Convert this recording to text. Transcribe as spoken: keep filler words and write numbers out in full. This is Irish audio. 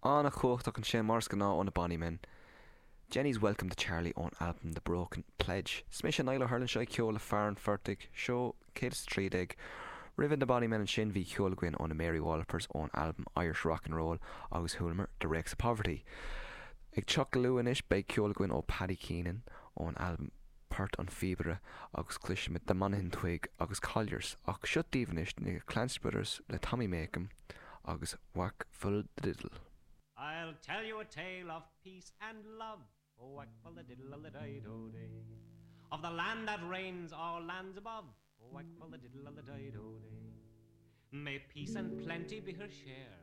An-chumhachtach ansin mar is gnáth ó na Bonny Men. Jenny's Welcome to Charlie ón albam The Broken Pledge. Is mise Niall Ó hUrlain seo ceol le fear an phortaigh seó céad is trí déag. Roimh na Bonny Men ansin bhí ceol againn ó na Mary Wallopers ón albam Irish Rock and Roll agus chualamar The Rakes of Poverty. Ag teacht go luath anois beidh ceol againn ó Paddy Keenan ón albam Port an Phíobaire agus cloisfimid The Monaghan Twig agus Colliers ach seo daoibh anois na Clancy Brothers le Tommy Makem agus Whack Full the Diddle. I'll tell you a tale of peace and love, oh, whack full the diddle the dido day, of the land that reigns all lands above, oh, whack full the diddle the dido day. May peace and plenty be her share,